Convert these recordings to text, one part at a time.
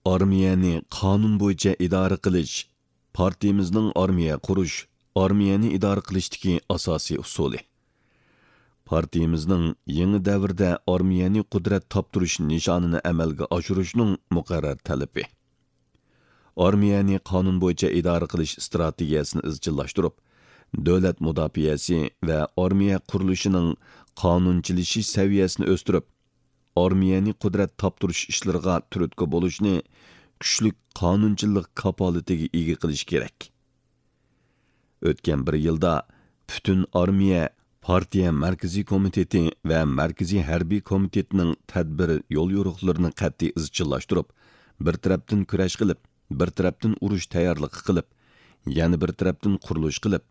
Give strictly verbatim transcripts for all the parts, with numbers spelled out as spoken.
ئارمىيەنى قانۇن بويىچە ئىدارە قىلىش پارتىيىمىزنىڭ ئارمىيە قۇرۇش، ئارمىيەنى ئىدارە قىلىشتىكى ئاساسىي ئۇسۇلى. پارتىيىمىزنىڭ يېڭى دەۋردە ئارمىيەنى قۇدرەت تاپتۇرۇش نىشانىنى ئەمەلگە ئاشۇرۇشنىڭ مۇقەررەر تەلىپى. ئارمىيەنى قانۇن بويىچە ئىدارە قىلىش ئىستراتېگىيەسىنى ئىزچىللاشتۇرۇپ، دۆلەت مۇداپىئەسى ۋە ئارمىيە قۇرۇلۇشىنىڭ قانۇنچىلىشىش سەۋىيەسىنى ئۆستۈرۈپ، ئارمىيەنى قۇدرەت تاپتۇرۇش ئىشلىرىغا تۈرتكە بولۇشنى كۈچلۈك قانۇنچىلىق كاپالىتىگە ئىگە قىلىش كېرەك. ئۆتكەن بىر يىلدا پۈتۈن ئارمىيە، پارتىيە مەركىزىي كومىتېتى ۋە مەركىزىي ھەربىي كومىتېتنىڭ تەدبىر يوليورۇقلىرىنى قەتئىي ئىزچىللاشتۇرۇپ، بىر تەرەپتىن كۈرەش قىلىپ، بىر تەرەپتىن ئۇرۇش تەييارلىقى قىلىپ، يەنە بىر تەرەپتىن قۇرۇلۇش قىلىپ،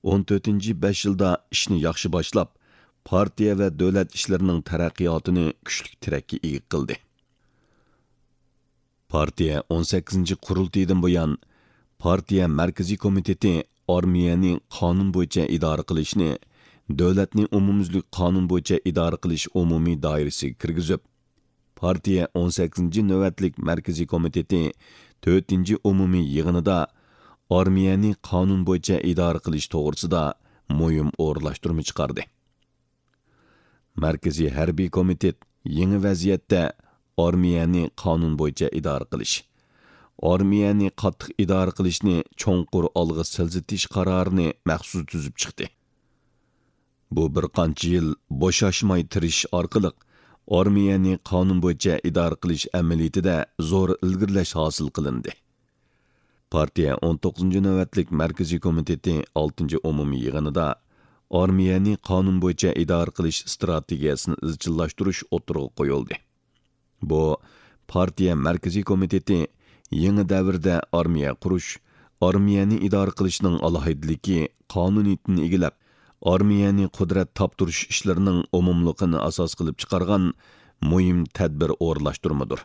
ئون تۆتىنچى بەش يىلدا ئىشنى ياخشى باشلاپ، پارتىيە ۋە دۆلەت ئىشلىرىنىڭ تەرەققىياتىنى كۈچلۈك تىرەككە ئىگە قىلدى. پارتىيە ئون سەككىزىنچى قۇرۇلتىيىدىن بۇيان، پارتىيە مەركىزىي كومىتېتى ئارمىيەنى قانۇن بويىچە ئىدارە قىلىشنى دۆلەتنى ئومۇميۈزلۈك قانۇن بويىچە ئىدارە قىلىش ئومۇمىي دائىرىسىگە كىرگۈزۈپ، پارتىيە ئون سەككىزىنچى نۆۋەتلىك مەركىزىي كومىتېتى تۆتىنچى ئومۇمىي يىغىنىدا ئارمىيەنى قانۇن بويىچە ئىدارە قىلىش توغرىسىدا مۇھىم ئورۇنلاشتۇرما چىقاردى. مەركىزىي ھەربىي كومىتېت يېڭى ۋەزىيەتتە ئارمىيەنى قانۇن بويىچە ئىدارە قىلىش، ئارمىيەنى قاتتىق ئىدارە قىلىشنى چوڭقۇر ئالغا سىلجىتىش قارارىنى مەخسۇس تۈزۈپ چىقتى. بۇ بىر قانچە يىل بوشاشماي تىرىشىش ئارقىلىق ئارمىيەنى قانۇن بويىچە ئىدارە قىلىش ئەمەلىيىتىدە زور ئىلگىرىلەش ھاسىل قىلىندى. پارتىيە ئون توققۇزىنچى نۆۋەتلىك مەركىزىي كومىتېتى ئالتىنچى ئومۇمىي يىغىنىدا ئارمىيەنى قانۇن بويىچە ئىدارە قىلىش ئىستراتېگىيەسىنى ئىزچىللاشتۇرۇش ئوتتۇرىغا قويۇلدى. بۇ پارتىيە مەركىزىي كومىتېتى يېڭى دەۋردە ئارمىيە قۇرۇش، ئارمىيەنى ئىدارە قىلىشنىڭ ئالاھىدىلىكى، قانۇنىيىتىنى ئىگىلەپ، ئارمىيەنى قۇدرەت تاپتۇرۇش ئىشلىرىنىڭ ئومۇملۇقىنى ئاساس قىلىپ چىقارغان مۇھىم تەدبىر ئورۇنلاشتۇرمىدۇر.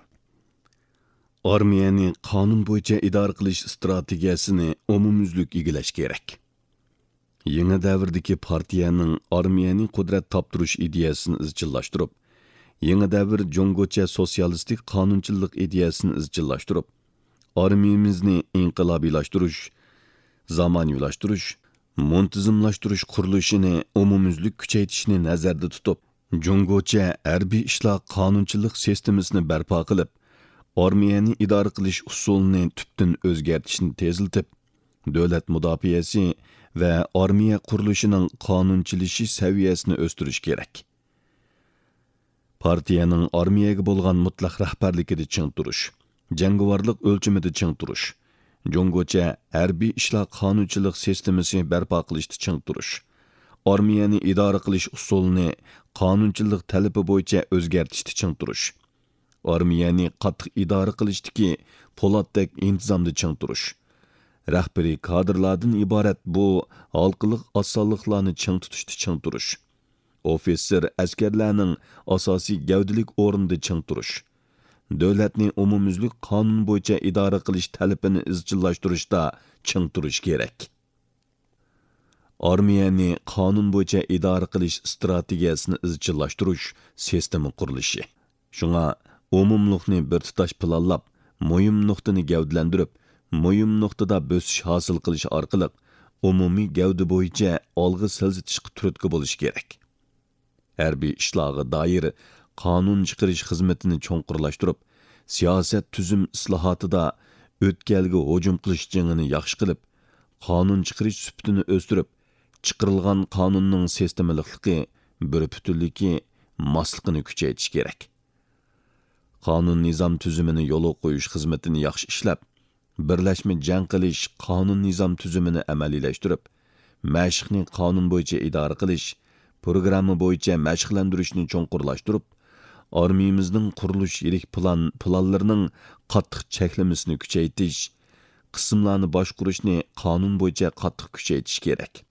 ئارمىيەنى قانۇن بويىچە ئىدارە قىلىش ئىستراتېگىيەسىنى ئومۇميۈزلۈك ئىگىلەش كېرەك. يېڭى دەۋردىكى پارتىيەنىڭ ئارمىيەنى قۇدرەت تاپتۇرۇش ئىدىيەسىنى ئىزچىللاشتۇرۇپ، يېڭى دەۋر جۇڭگوچە سوتسىيالىستىك قانۇنچىلىق ئىدىيەسىنى ئىزچىللاشتۇرۇپ، ئارمىيىمىزنى ئىنقىلابىيلاشتۇرۇش، زامانىۋىلاشتۇرۇش، مۇنتىزىملاشتۇرۇش قۇرۇلۇشىنى ئومۇميۈزلۈك كۈچەيتىشنى نەزەردە تۇتۇپ، جۇڭگوچە ھەربىي ئىشلار قانۇنچىلىق سىستېمىسىنى بەرپا قىلىپ، ئارمىيەنى ئىدارە قىلىش ئۇسۇلىنى تۈپتىن ئۆزگەرتىشنى تېزلىتىپ، دۆلەت مۇداپىئەسى ۋە ئارمىيە قۇرۇلۇشىنىڭ قانۇنچىلىشىش سەۋىيەسىنى ئۆستۈرۈش كېرەك. پارتىيەنىڭ ئارمىيەگە بولغان مۇتلەق رەھبەرلىكىدە چىڭ تۇرۇش، جەڭگىۋارلىق ئۆلچىمىدە چىڭ تۇرۇش، جۇڭگوچە ھەربىي ئىشلار قانۇنچىلىق سىستېمىسى بەرپا قىلىشتا چىڭ تۇرۇش، ئارمىيەنى ئىدارە قىلىش ئۇسۇلىنى قانۇنچىلىق تەلىپى بويىچە ئۆزگەرتىشتە چىڭ تۇرۇش، ئارمىيەنى قاتتىق ئىدارە قىلىشتىكى پولاتتەك ئىنتىزامدا چىڭ تۇرۇش، رەھبىرىي كادىرلاردىن ئىبارەت بۇ ھالقىلىق ئاز سانلىقلارنى چىڭ تۇتۇشتا چىڭ تۇرۇش، ئوفىتسېر ئەسكەرلەرنىڭ ئاساسىي گەۋدىلىك ئورنىدا چىڭ تۇرۇش، دۆلەتنى ئومۇميۈزلۈك قانۇن بويىچە ئىدارە قىلىش تەلىپىنى ئىزچىللاشتۇرۇشتا چىڭ تۇرۇش كېرەك. ئارمىيەنى قانۇن بويىچە ئىدارە قىلىش ئىستراتېگىيەسىنى ئىزچىللاشتۇرۇش سىستېما قۇرۇلۇشى. شۇڭا ئومۇملۇقنى بىر تۇتاش پىلانلاپ، مۇھىم نۇقتىنى گەۋدىلەندۈرۈپ، مۇھىم نۇقتىدا بۆسۈش ھاسىل قىلىش ئارقىلىق ئومۇمىي گەۋدە بويىچە ئالغا سىلجىتىشقا تۈرتكە بولۇش كېرەك. ھەربىي ئىشلارغا دائىر قانۇن چىقىرىش خىزمىتىنى چوڭقۇرلاشتۇرۇپ، سىياسەت تۈزۈم ئىسلاھاتىدا ئۆتكەلگە ھۇجۇم قىلىش جېڭىنى ياخشى قىلىپ، قانۇن چىقىرىش سۈپىتىنى ئۆستۈرۈپ، چىقىرىلغان قانۇننىڭ سىستېمىلىقلىقى، بىر پۈتۈنلۈكى، ماسلىقىنى كۈچەيتىش كېرەك. قانۇن نىزام تۈزۈمىنى يولغا قويۇش خىزمىتىنى ياخشى ئىشلەپ، بىرلەشمە جەڭ قىلىش قانۇن نىزام تۈزۈمىنى ئەمەلىيلەشتۈرۈپ، مەشىقنى قانۇن بويىچە ئىدارە قىلىش، پروگرامما بويىچە مەشىقلەندۈرۈشنى چوڭقۇرلاشتۇرۇپ، ئارمىيىمىزنىڭ قۇرۇلۇش يىرىك پىلان، پىلانلىرىنىڭ قاتتىق چەكلىمىسىنى كۈچەيتىش، قىسىملارنى باشقۇرۇشنى قانۇن بويىچە قاتتىق كۈچەيتىش كېرەك.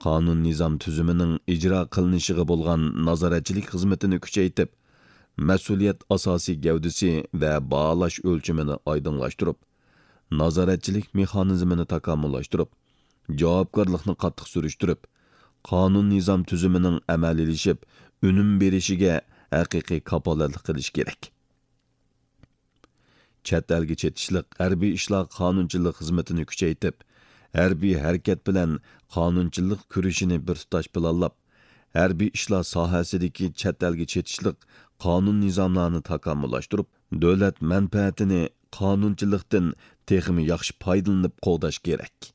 قانۇن نىزام تۈزۈمىنىڭ ئىجرا قىلىنىشىغا بولغان نازارەتچىلىك خىزمىتىنى كۈچەيتىپ، مەسئۇلىيەت ئاساسىي گەۋدىسى ۋە باھالاش ئۆلچىمىنى ئايدىڭلاشتۇرۇپ، نازارەتچىلىك مېخانىزمىنى تاكامۇللاشتۇرۇپ، جاۋابكارلىقنى قاتتىق سۈرۈشتۈرۈپ، قانۇن نىزام تۈزۈمىنىڭ ئەمەلىيلىشىپ، ئۈنۈم بېرىشىگە ھەقىقىي كاپالەتلىك قىلىش كېرەك. چەت ئەلگە چېتىشلىق ھەربىي ئىشلار قانۇنچىلىق خىزمىتىنى كۈچەيتىپ، ھەربىي ھەرىكەت بىلەن قانۇنچىلىق كۈرىشىنى بىر تۇتاش پىلانلاپ، ھەربىي ئىشلار ساھەسىدىكى چەت ئەلگە چېتىشلىق قانۇن نىزاملارنى تاكامۇللاشتۇرۇپ، دۆلەت مەنپەئەتىنى قانۇنچىلىقتىن تېخىمۇ ياخشى پايدىلىنىپ قوغداش كېرەك.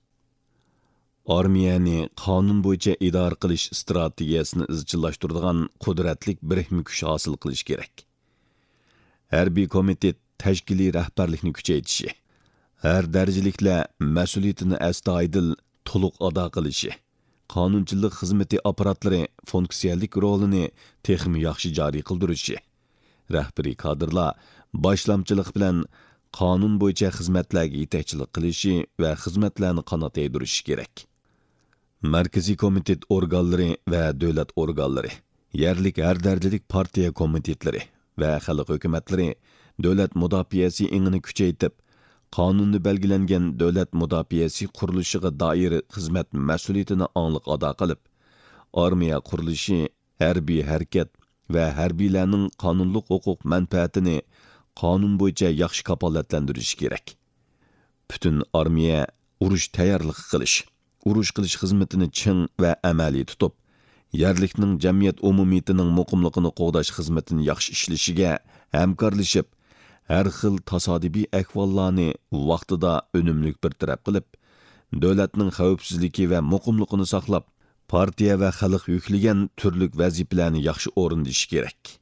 ئارمىيەنى قانۇن بويىچە ئىدارە قىلىش ئىستراتېگىيەسىنى ئىزچىللاشتۇرىدىغان قۇدرەتلىك بىرىكمە كۈچ ھاسىل قىلىش كېرەك. ھەربىي كومىتېت تەشكىلىي رەھبەرلىكنى كۈچەيتىشى، ھەر دەرىجىلىكلەر مەسئۇلىيىتىنى ئەستايىدىل، تولۇق ئادا قىلىشى، قانۇنچىلىق خىزمىتى ئاپپاراتلىرى فۇنكسىيەلىك رولىنى تېخىمۇ ياخشى جارى قىلدۇرۇشى، رەھبىرىي كادىرلار باشلامچىلىق بىلەن قانۇن بويىچە خىزمەتلەرگە يېتەكچىلىك قىلىشى ۋە خىزمەتلەرنى قانات يايدۇرۇشى كېرەك. مەركىزىي كومىتېت ئورگانلىرى ۋە دۆلەت ئورگانلىرى، يەرلىك ھەر دەرىجىلىك پارتىيە كومىتېتلىرى ۋە خەلق ھۆكۈمەتلىرى دۆلەت مۇداپىئەسى ئېڭىنى كۈچەيتىپ، قانۇندا بەلگىلەنگەن دۆلەت مۇداپىئەسى قۇرۇلۇشىغا دائىر خىزمەت مەسئۇلىيىتىنى ئاڭلىق ئادا قىلىپ، ئارمىيە قۇرۇلۇشى، ھەربىي ھەرىكەت ۋە ھەربىيلەرنىڭ قانۇنلۇق ھوقۇق مەنپەئەتىنى قانۇن بويىچە ياخشى كاپالەتلەندۈرۈشى كېرەك. پۈتۈن ئارمىيە ئۇرۇش تەييارلىقى قىلىش، ئۇرۇش قىلىش خىزمىتىنى چىڭ ۋە ئەمەلىي تۇتۇپ، يەرلىكنىڭ جەمئىيەت ئومۇمىيىتىنىڭ مۇقىملىقىنى قوغداش خىزمىتىنى ياخشى ئىشلىشىگە ھەمكارلىشىپ، ھەر خىل تاسادىپىي ئەھۋاللارنى ۋاقتىدا ئۈنۈملۈك بىر تەرەپ قىلىپ، دۆلەتنىڭ خەۋپسىزلىكى ۋە مۇقىملىقىنى ساقلاپ، پارتىيە ۋە خەلق يۈكلىگەن تۈرلۈك ۋەزىپىلەرنى ياخشى ئورۇندىشى كېرەك.